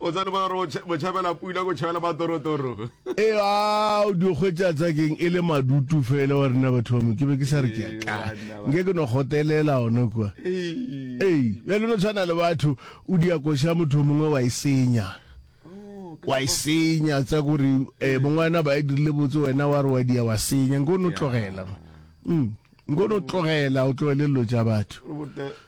O tsane ba re o tšhabela pula ko tšhabela matorotoro. Ee, a o di hwetša tsa keng e le madutu fela wa rena batho ba mo ke be ke sa re ke ya ka. Nke ke no kgotelela ona kwa. Ee, bjale no tshwana le batho o dia koša motho mongwe wa e senya. Wa e senya tsa gore eh mongwana ba e dirile botse wena wa re wa dia wa senya nko no tlogela. Mm. Nko no tlogela o tlogele dilo tša batho.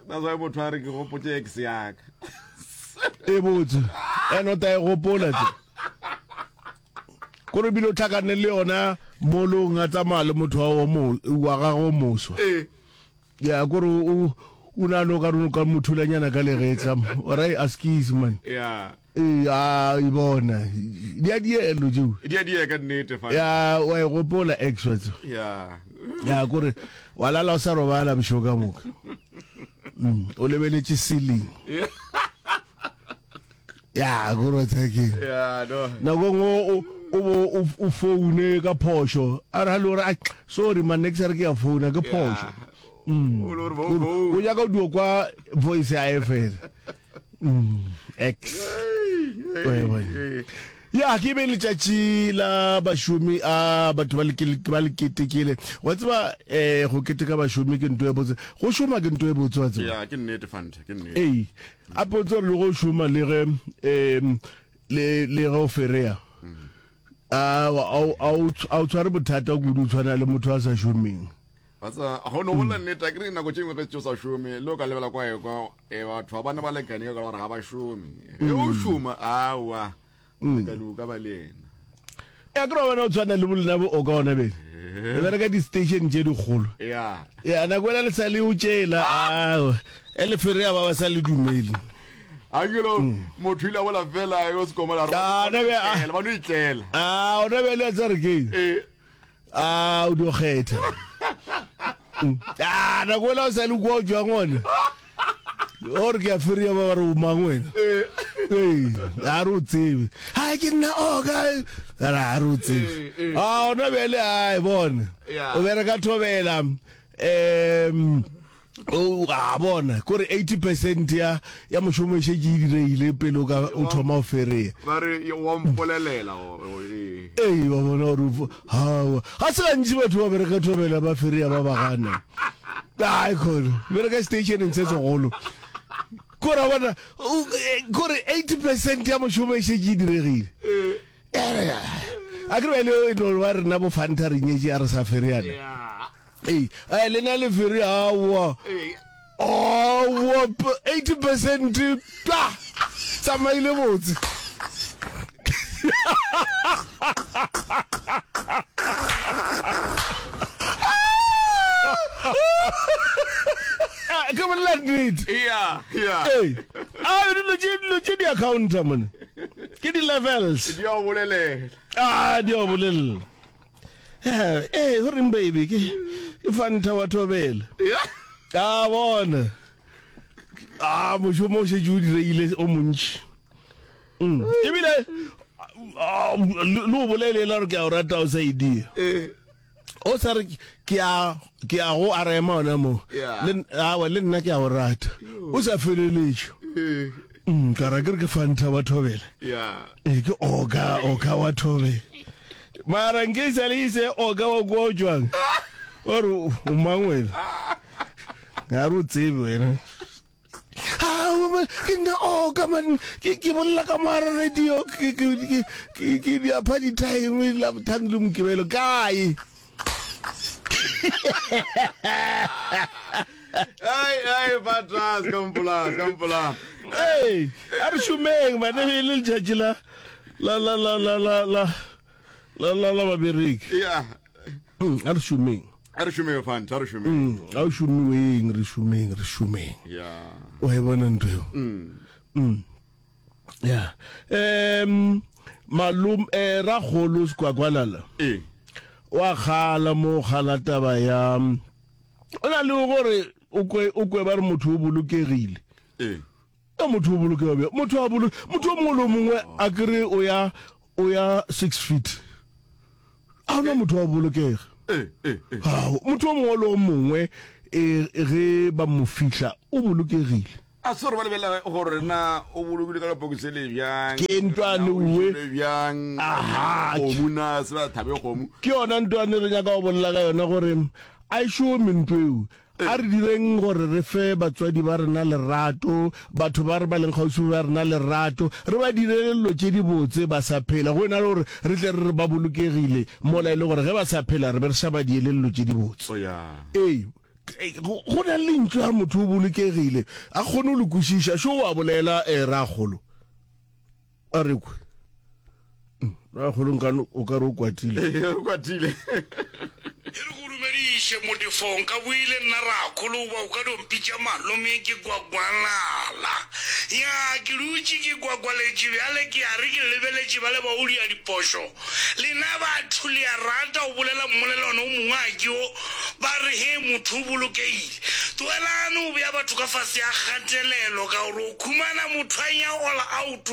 That's why motho a re ke gopotse ex ya ka. E botse. Ene o ta e gopola tse. Kore bile o tlhakane le yona molong a tsamaya le motho wa mo wa gagwe o moswa. Eh. Ya kore o o na no ka no ka mothulanyana ka legetla. Ora e askies man. Yeah. Ee, a e bona. Di a dielo tšeo. Di a die ka nnete fa. Ya wa e gopola ex wa tseba. Ya. Ya kore wa lala o sa robala bošego ka moka. Mm, o lebeletše ceiling. Ya kore wa tseba ke. Ya no. Nako nngwe o o bo o o foune ka phošo. A re halo re sorry man ne ke sa re ke ya founa ke phošo. Mm. O le gore bo O nyaka o dio kwa voice ya fela. Mm, X. Ya ke be letšatši la bašomi a batho ba ba le ketekele. Wa tseba eh go keteka bašomi ke nto e botse. Go šoma ke nto e botse wa tseba. Ya ke nnete fanta ke nnete. Ee. A potse le go šoma le ge eh le le ge o ferea. A a o tshware bothata kudu tshwana le motho a sa šomeng. Wa tseba, go no bolela nnete, a kere nako tše dingwe ge tše o sa šome, le o ka lebela kwa ekwa, e batho ba bana ba lekane ka gore ga ba šome. Ge o šoma, aowa, molekane o ka ba le yena. Ya kere wa bona o tshwana le bolena bo oka ona bele. Re bereka di-station tše dikgolo. Ya. Ya nako ela le sa le o tšela, aowa, e le ferea ba ba sa le dumele. A ke lo motho ile a bola fela yo se komola re Ah, na be a- ba no itlela. Ah, ona bele a tsa re ke. Eh. A o dio kgetha. A nako ela o sa le kwa o jwang ona. O re ke a feria ba ba re o mang wena. Ee, a re o tsebe. Ha ke nna o ka ra a re o tsebe. A ona bjale a e bona. O bereka thobela. Um O a bona, kore 80 percent ya, ya mošomo e šetše e diregile pele o ka o thoma o ferea. Ba re wa mpolelela ee. Ee, wa bona gore hawa. Ga se gantši batho ba bereka thobela ba ferea ba ba gana. Ai khona, bereka stationeng se segolo. Kore wa bona, kore 80 percent ya mošomo e šetše e diregile. A ke re bjale e no ba rena bo Fanta re nyetše a re sa fereana. Ee, a lena le fere aowa. Aowa 80 percent pa tsamaile botse. Ah, ke bolela nnete. Yeah, yeah. Ee. A dilo tše dilo tše di accounta mone. Ke di levels. Di a bolelela. Ah, di a bolelela. Eh, eh, go reng baby ke ke fanta wa thobela. A bona. A mošomo o šetše o direile o montši. Mm. Ebile le o bolelela gore ke a o rata o sa e dia. Eh. O sa re ke a ke a go a rema ona mo. Le awa le nna ke a o rata. O sa feleletše. Eh. Mm, ka ra ke re ke fanta wa thobela. Yeah. E ke oka oka wa thobela. Mara nke sa le ise oka wa kwa o jwang. O re o mang wena? Ga re o tsebe wena. Ha ke nna oka man ke ke bolela ka mara radio ke ke ke ke ke di apha di time la bothang le mokibelo kae. Ai, ai, Patras, ka mpola, ka mpola. Hey, a re šomeng bane e le letšatši la la la la la la la la la la babereki. Yeah. Mm, a re šomeng. A re šomeng fanta, a re šomeng. Mm, a o šomiweng, re šomeng, re šomeng. Yeah. O e bona ntho eo. Mm. Mm. Yeah. Um malum eh rakgolo Sekwakwanala. Eh. Wa kgala mo kgala taba ya o na le gore o kwe o kwe ba re motho o bolokegile. Eh. Ka motho o bolokega bjang? Motho a bolo motho o mongwe le o mongwe a kere o ya o ya 6 feet. A ona motho wa bolokega. Eh, eh, eh. Ao, motho o mongwe le o mongwe e ge ba mo fihla o bolokegile. A se gore ba lebelela gore na o bolokile ka lepokisi le bjang. Ke ntwane Na o uwe. jele bjang. Aha. Kgomo na se ba thabe kgomo. Ke yona ntwane re nyaka go bolela ka yona gore a e šome ntho eo. A re direng gore re fe batswadi ba rena lerato, batho ba re ba leng kgauswi ba rena lerato, re ba direle dilo tše dibotse ba sa phela, go e na le gore re tle re re ba bolokegile mola e le gore ge ba sa phela re be re sa ba diele dilo tše dibotse. Oh ya. Ee, go na le lentšu la motho o bolokegile, a kgone go le kwešiša. Šo o a bolela, eh, rakgolo. A re kwe. Mm, Rakgolo nkane o ka re o kwatile. Ee, o kwatile. E re go dumediše modefong ka boile nna rakgolo goba o ka dio mpitša malome ke gwagwalala. Ya ke dutše ke gwagwaletše bjale ke a re ke lebeletše bale ba o dia diphošo. Lena batho le a rata go bolela mmolelwana o mongwe a ke o ba re he motho o bolokegile. Tlogelane go bea batho ka fase ga kgatelelo ka gore o khumana motho a ya all out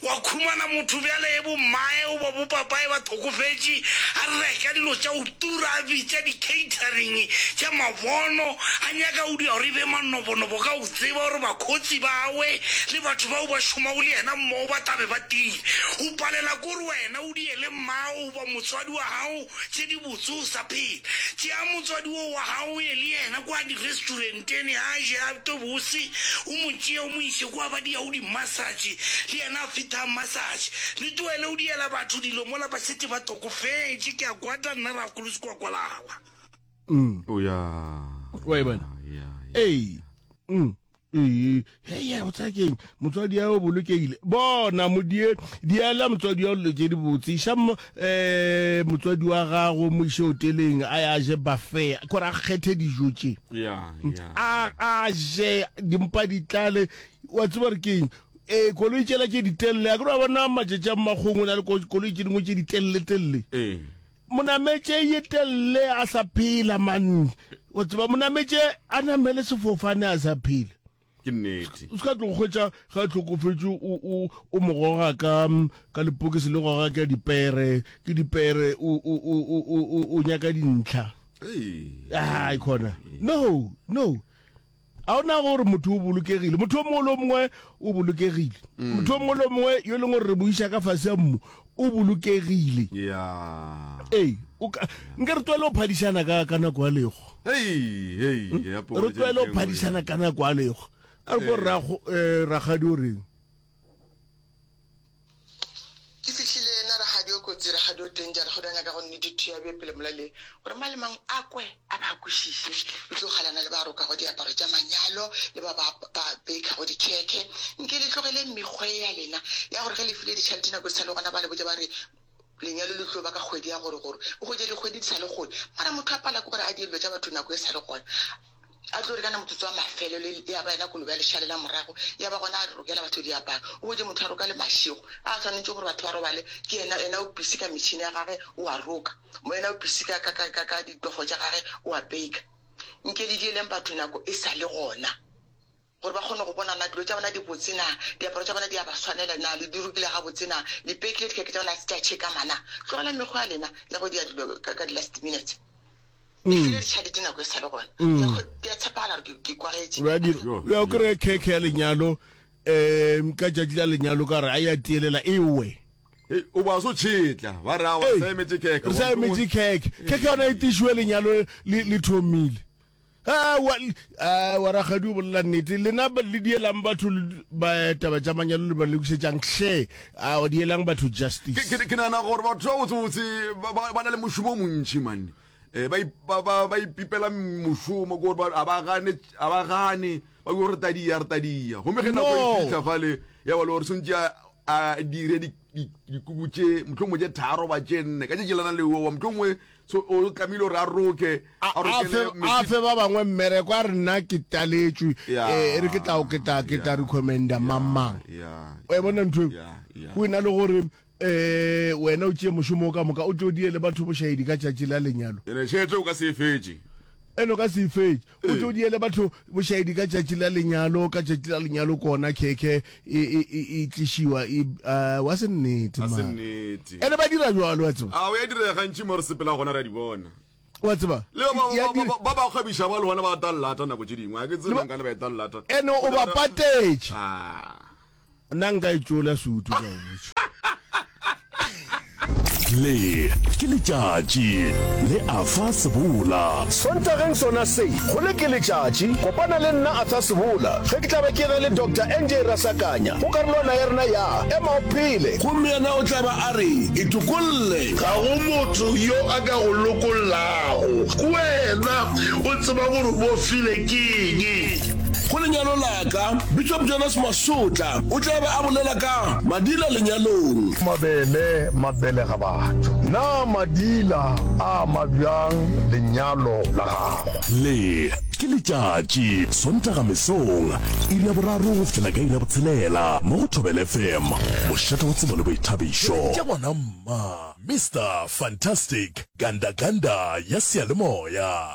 wa khumana motho bjale e bo mmae goba bo papae ba thokofetše a reka dilo tša go tura a bitša di catering tša mabono a nyaka go dira gore e be manobonobo ka go tseba gore bakhotsi bawe le batho bao ba šomago le yena mmogo ba tla be ba tile. O palela ke gore wena o diele mmago goba motswadi wa gago tše di botse o sa phela. Tšea motswadi wo wa gago o ye le yena kwa di-restauranteng a je a twe bose, o mo tšee o mo iše kwa ba diyago di-massage, le yena a fetha a massage. Le tlohele o diela batho dilo mola ba šetše ba hlokofetše. Ke a kwata nna Rakgolo Sekwakwalawa. O ya. Wa e bona? Ya, ya. Ee. Mm. Ee, hei, o tsaya keng motswadi ya o bolokegile bona modie diela motswadi wa dilo tše di botse iša um motswadi wa gago mo iše hoteleng a ya je buffet kore a kgethe dijo tše Ya, ya. a a je dimpa di tlale wa tseba re keng ee koloi tšela tše ditelele a ke wa bona matšatši a mmakgong o na le koloi tše dingwe tše ditelele-telele Ee. Monametše ye telle a sa phela man. O tseba monametše a namele sefofane a sa phela. Ke nnete. O ska tlo hwetša ga hlokofetše o o o mo goga ka ka lepokisi le goga ka dipere, ke dipere o o o o o o nyaka dintlha. Ei. Ai khona. No, no. A o nagana gore motho o bolokegile? Motho o mongwe le o mongwe o bolokegile. Mm. Motho o mongwe le o mongwe yo e leng gore re mo iša ka fase ya mmu o bolokegile. Yeah. Ee, o ka nke re tlwaele go phadišana ka ka nako ya lego. Hey, hey, hmm? ya Re tlwaele go phadišana ka nako ya lego. A re ko eh, rakgadi o reng? Ke fihlile yena rakgadi o kotsi, rakgadi o danger, rakgadi a nyaka go nnete thuya be pele molaleng gore mang le mang a kwe a ba a kwešiše. Le tlo kgalana le ba rokago diaparo tša manyalo le ba ba ba baker-go dikhekhe. Nke le tlogeleng mekgwa ye ya lena ya gore ge le file ditšhelete nako di sa le gona ba le botša ba re lenyalo le tlo ba ka kgwedi ya gore gore. O hwetše dikgwedi di sa le kgole mara motho a pala ke gore a die dilo tša batho nako e sa le gona. A tlo re kana motsotso wa mafelelo ya ba yena kolobe ya lešale la morago, ya ba gona a rokela batho diaparo. O hwetše motho a roka le mašego a swanetše gore batho ba robale, ke yena, yena o busy ka metšhini ya gage o a roka, yena o busy ka, ka, ka, ka, ka ditofo tša gage o a baker. Nke le dieleng batho nako e sa le gona gore ba kgone go bona na dilo tša bona di botse na, diaparo tša bona di a ba swanela na, le di rokile gabotse na, le pekile dikhekhe tša bona ga se tša tšhekama na. Tlogelang mekgwa ya lena ya go dia dilo ka, ka di-last minute. Ke file ditšhelete nako e sa le gona. Ke a tshepagala gore ke kwagetše. Ya o kry-e khekhe ya lenyalo um ka tšatši la lenyalo ka re a ya tielela e we. O ba so tšhetla ba re a sa emetše khekhe. Re sa emetše khekhe. Khekhe yona e tišiwe lenyalo le thomile. Wa rakgadi o bolela nnete. Lena le dielang batho ba taba tša manyalo le ba lokišetšang hle. A dielang batho justice. Ke nagana gore batho ba botsebotse ba na le mošomo o montši man. Eh, ba ba ba ba ipipela mošomo ke gore ba a ba gane a ba gane ba go re tadia re tadia gomme ge nako e fihla fale ya ba le gore swantse a dire dikuku tše mohlomongwe tše tharo ba tše nne ka tše lana le owa mohlomongwe so o tlamehile gore a roke a fe ba bangwe mmereko a re nna ke taletšwe e re ke tla ke tla ke tla recommenda mang mang o e bona ntho go ena le gore Ee, wena o tšee mošomo wo ka moka, o tlo die le batho bošaedi ka tšatši la lenyalo. Ene tšhelete o ka se e fetše. Ene o ka se e fetše. O tlo die le batho bošaedi ka tšatši la lenyalo, ka tšatši la lenyalo kona khekhe e, e, e, e tlišiwa e, uh, wa se nnete A se mara. nnete. Ene ba dira jwalo wa tseba. A o ya direga gantši mo re sepela gona re a di bona. Wa tseba? Le ba ba ba ba ba kgwebiša ba le bona ba ta llata nako tše dingwe. A ke tsebe nka le ba eta llata. Ene o ba patetše. Ah. Nna nka e tšola sutu ka go botša. Le ke letšatši le Arthur Sebola. Sontageng sona se, go le ke letšatši, kopana le nna Arthur Sebola ge ke tla be ke ena le Doctor NJ Rasakanya go karolwana ya rena ya Ema o Phele. Gomme yena o tla ba a re, Itokolle. Ga go motho yo a ka go lokollago. Ke wena o tseba gore o bofile ke eng. Go lenyalo la ka, Bishop Jonas Masotla o tla be a bolela ka Madila lenyalong. Mabele mabelega batho. Na madila a ama bjang lenyalo la gago? Le ke letšatši, Sontaga mesong, iri ya boraro go fihlela ka iri ya botshelela, mo go Thobela FM, mošate wa tsebo le boithabišo. Tša ngwana mma, Mister Fantastic, Ganda Ganda ya seyalemoya.